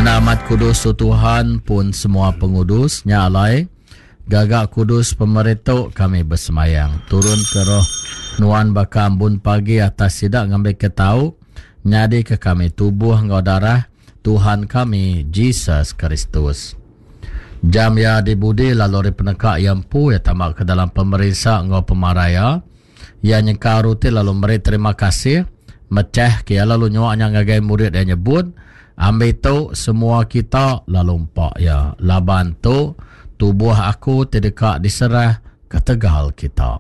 Enda amat kudus tu Tuhan pun semua pengudus nya alai gaga kudus pemeri tu kami besemayang turun ke roh nuan baka ambun pagi atas sida ngambika tau nyadika kami tubuh enggau darah Tuhan kami Jesus Kristus. Jam iya dibudi lalu ari peneka iya empu iya tama ke dalam pemerinsa enggau pemarai iya. Iya nyengkau ruti lalu meri terima kasih, mechah ke iya lalu nyua nya ngagai murid iya nyebut, Ambi tu semua kita lalu empa iya, laban tu tubuh aku ti deka diserah ketegal kita.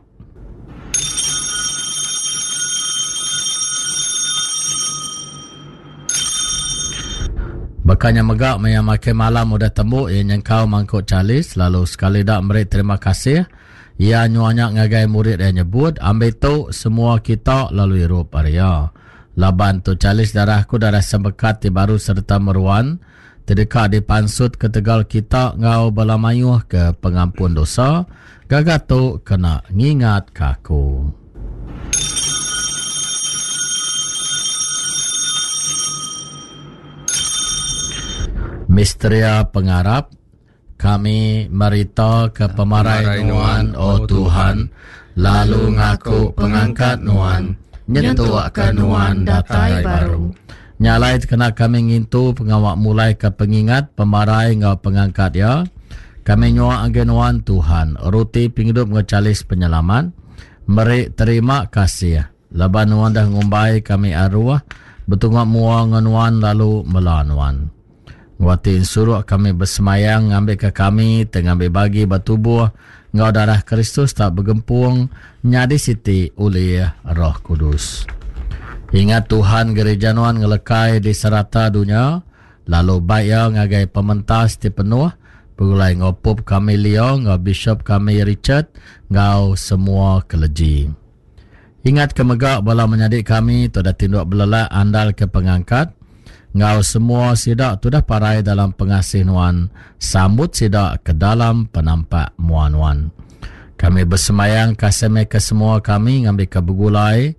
Baka nya mega maya makai malam udah tembu iya nyengkau mangkuk chalis lalu sekali da meri terima kasih, Iya nyua nya ngagai murid iya nyebut, Ambi tu, semua kita, lalu irup ari iya. Laban tu chalis darah aku darah sempekat ti baru sereta meruan, ti deka dipansut ketegal kita enggau bala mayuh ke pengampun dosa, gaga tu kena ngingatka aku. Misteria Pengarap. Kami meritaka pemarai Nuan, O Tuhan, lalu ngaku pengangkat Nuan, nyentukka Nuan datai baru. Nya alai kena kami ngintu pengawa mulaika pengingat pemarai enggau pengangkat Iya, kami nyua ngagai Nuan, Tuhan, ruti pengidup enggau chalis penyelamat, meri terima kasih, laban Nuan udah ngumbai kami aruh betunga mua enggau Nuan lalu mela Nuan. Nguati ensuruk kami besemayang ngambika kami ti ngambi bagi ba tubuh enggau darah Kristus tau begempung nyadi siti ulih Roh Kudus. Ingat Tuhan gerija nuan ngelekai di serata dunya lalu bai iya ngagai pementas ti penuh begulai enggau Pope kami Leo enggau Bishop kami Richard enggau semua keleji. Ingat ke mega bala menyadi kami ti udah tinduk belelak andal ke pengangkat, enggau semua sida ti udah parai dalam pengasih Nuan, sambut sida ke dalam penampak mua Nuan. Kami besembayang kasih meh ke semua kami ngambika begulai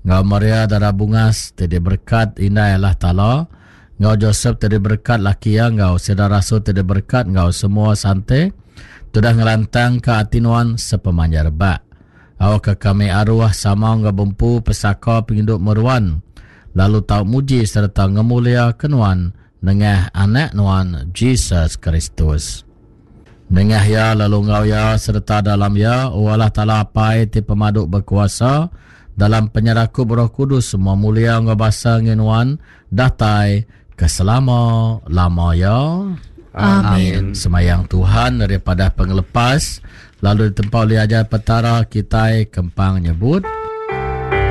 enggau Maria Dara Bungas ti diberekat Indai Allah Taala, enggau Josep ti diberekat laki iya enggau sida rasul ti diberekat enggau semua sante ti udah ngelantangka ati Nuan sepemanjai rebak. Awakka kami aruh sama enggau bempu pesaka pengidup meruan, lalu tau muji sereta ngemuliaka Nuan nengah Anak Nuan, Jesus Kristus. Nengah Iya lalu enggau Iya sereta dalam Iya, O Allah Taala Apai ti Pemadu Bekuasa, dalam penyerakup Roh Kudus semua mulia enggau basa enggi Nuan datai ke selama-lama iya. Amin. Semayang Tuhan daripada pengelepas lalu ditempa oleh ajar Petara kitai kempang nyebut.